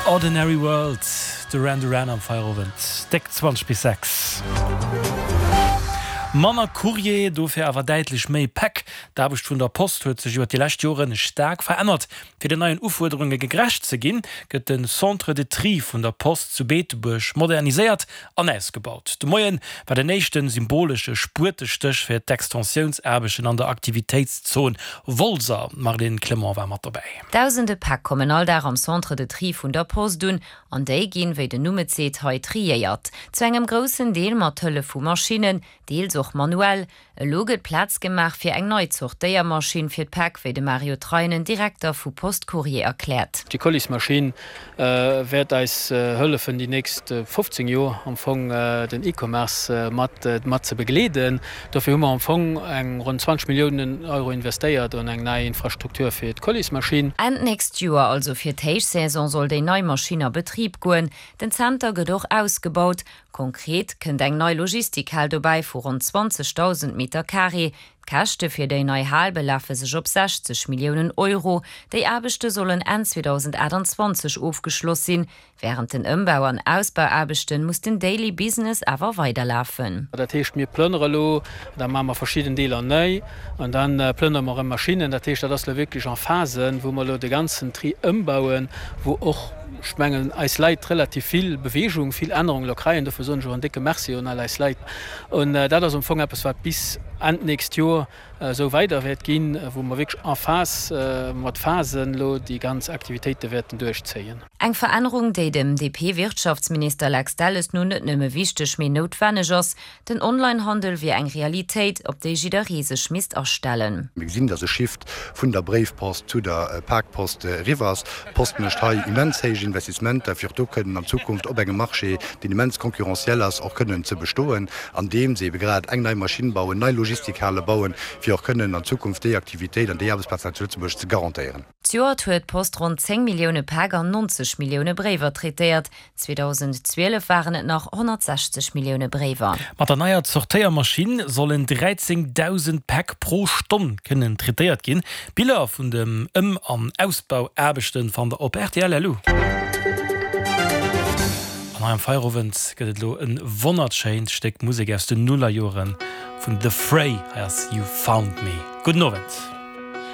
Ordinary World, Duran Duran am Feierowend, déck 20 bis 6. Manner Courrier, dofir awer däitlech méi Päck. D'Aarbecht vun der Post huet sech iwwer déi lescht Jore staark verännert. Fir den neien Ufuerderunge gegrecht ze ginn, gëtt de Centre de Tri vun der Post zu Beetebuerg moderniséiert an ausgebaut. De Moie war den éischte symbolesche Spuetestéch fir d'Extensiounsaarbechten an der Aktivitéitszon Wolser. D'Marlène Clement war mat dobäi. Dausende Päck kommen all Dag am Centre de Tri vun der Post un, an déi ginn, wéi den Numm et seet, hei triéiert. Zu engem groussen Deel mat Hëllef vu Maschinnen, deels och manuell. Elo gëtt Plaz gemaach fir eng nei Zortéiermaschinn fir d'Päck, wéi de Mario Treinen, Direkter vu Post Courrier erkläert. Déi Colismaschinn wäert eis hëllefen déi nächst 15 Joer am Fong den E-Commerce mat mat ze begleeden. Dofir hu mer am Fong eng ronn 20 Milliounen Euro investéiert an eng nei Infrastruktur fir d'Colismaschinn. Enn d'nächst Joer, also fir d'Héichsaison, soll déi nei Maschinn a Betrib goen. Den Zenter gëtt och ausgebaut. Konkret kënnt eng nei Logistikhal dobäi vu ronn 20.000 Meter Carré. D'Käschte fir déi nei Hal belafe sech op 60 Milliounen Euro. Déi Aarbechte sollen Enn 2028 ofgeschloss sinn. Wärend den Ëmbau an Ausbauaarbechten muss den Daily Business awer weiderlafen. Dat heescht, mir plënnere elo, da maache mer verschidden Deeler nei an da plënnere mer erëm Maschinnen. Dat heescht, dat ass elo wierklech en Phasen, wou mer elo de ganzen Tri ëmbauen, wou och, ech mengen, eis Leit relativ vill Beweegung, vill Ännerung elo kreien. Dofir soen ech och en décke Merci un all eis Leit. An dat ass am Fong eppes, wat bis Enn d'nächst Joer esou weider wäert ginn, wou mer wierklech en phase, mat Phasen elo déi ganz Aktivitéite wäerten duerchzéien. Eng Verännerung, déi dem DP-Wirtschaftsminister Lex Delles no net nëmme wichteg, mee noutwenneg ass. Den Online-Handel wier eng Realitéit, op déi jidderee sech misst astellen. Mir gesinn, dass e Shift vun der Bréifpost zu der Pakpost eriwwer ass. D'Post mécht hei immens héich Investissementer, fir och do kënnen an Zukunft op engem Marché, deen immens concurrentiel ass, och kënnen ze bestoen, andeem se ebe grad eng nei Maschinn bauen, nei Logistikhale bauen, fir och kënnen an Zukunft déi Aktivitéit an déi Aarbechtsplazen hei zu Lëtzebuerg ze garantéieren. Zejoert huet d'Post ronn 10 Millioune Päck an 90 Millioune Bréiwer traitéiert. 2012 waren et nach 160 Millioune Bréiwer. Mat der neier Zortéiermaschinn sollen 13.000 Päck pro Stonn kënnen traitéiert ginn. Biller vun dem Ëm an Ausbauaarbechten fannt der op rtl.lu. An hei am Feierowend gëtt et elo e wonnertschéint Stéck Musek aus den Nullerjoren vun The Fray. Hei ass You Found Me. Gudden Owend.